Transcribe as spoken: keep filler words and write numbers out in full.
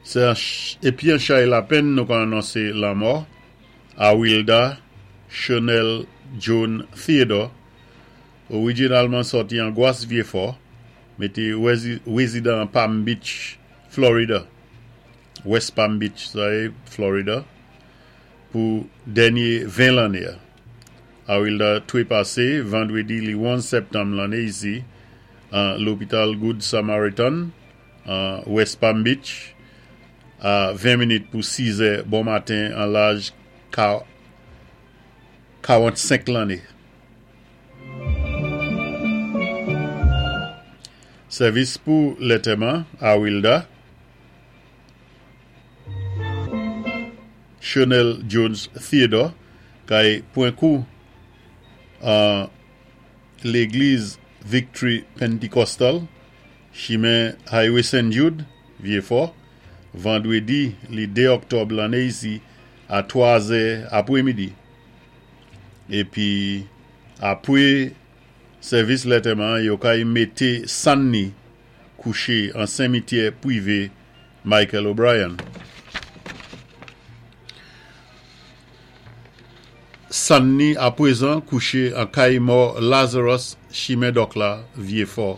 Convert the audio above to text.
Sé épi an chay lapenn nou ka anonsé lanmò Awilda Chanel Jones Theodore, orijinalman sòti an Gwas Vyéfò, mé té wézidan Palm Beach, Florida. West Palm Beach, sa é Florida, pou dènyé ven lanné. Awilda twépasé vandwédi li onz sèptanm lanné isi an lopital Good Samaritan an West Palm Beach a ven minit pou sis è bon maten an laj kawann-senk lanné. Sèvis pou lantèman Awilda Chanel Jones Theodore kay pwan kou an légliz Victory Pentecostal, chimen Highway Saint Jude, Vyéfò, vandwédi li dé òktòb lanné isi a twa zè apwémidi. Épi apwé sèvis lantèman, yo kay mété sann ni kouché an simityè pwivé Michael O'Brien. Sann ni apwézan kouché an kay mò Lazarus, chimen Dòk la, Vyéfò.